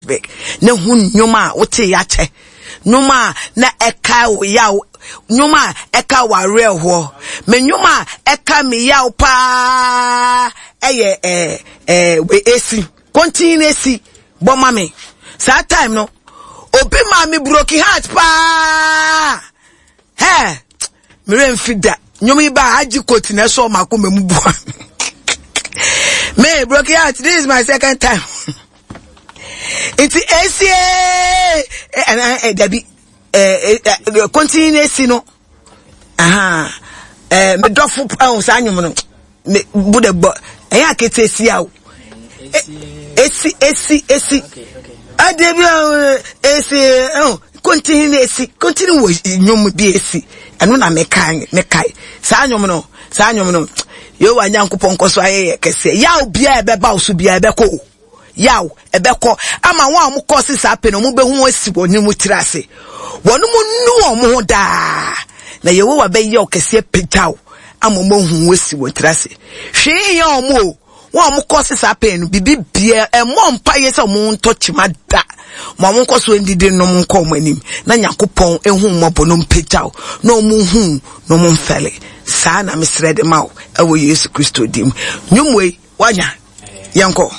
Na hu nnwom a wotee akyɛ, nnwom a na ɛkae wo yaw, nnwom a ɛka wo awerɛhoɔ. Me nnwom a ɛka me yaw paa ɛyɛ ɛɛ ɛɛ esi kontin esi bɔ ma me. Saa time no, obi maa me broken heart paa. Hɛ, me werɛ mfi da. Nnwom yi ba agye koti na ɛsɔ m'akoma mu bua. Me broken heart, this is my second time. Nti esie ɛɛ ɛɛ dabi ɛɛ ɛɛ kontin na esi no. Aha ɛɛ me dɔfo ɛho saa nnwom no. Me bu de bɔ ɛyɛ akete esi awo. Esi esi esi. Adeɛ bi a esi ɛho kontin na esi kontin wɔ nnwom bi esi ɛno na mekae mekae saa nnwom no saa nnwom no yehowa nyankopɔn nkɔ so ayɛ yɛ kɛseɛ yaw biara ɛbɛba wo so biara ɛbɛkɔ o yaw ɛbɛkɔ ama wɔn a wɔkɔ se saa pɛ no wɔbɛhu wɔn asi wɔn mu tiri ase wɔn mu nu wɔn ho daa na yehowa bɛyɛ ɔkɛseɛ pagyaw ama wɔn ahu wɔn asi wɔn tiri ase hwee yɛ wɔn o. Wɔn a wɔkɔ se saa pɛn no, biribi biara, ɛmmɔ mpaeɛ sɛ wɔn ntɔ kyima da. Ma wɔn nkɔ so ndidi nnom nkɔ wɔn anim, na Nyankopɔn ehu mmɔbɔ no mpagyaw, na wɔn hu na wɔn mfɛle. Saa na mesrɛ de ma wo, ɛwɔ Yesu Kristo din mu. Nnwom wei, wanya? Yɛnkɔ.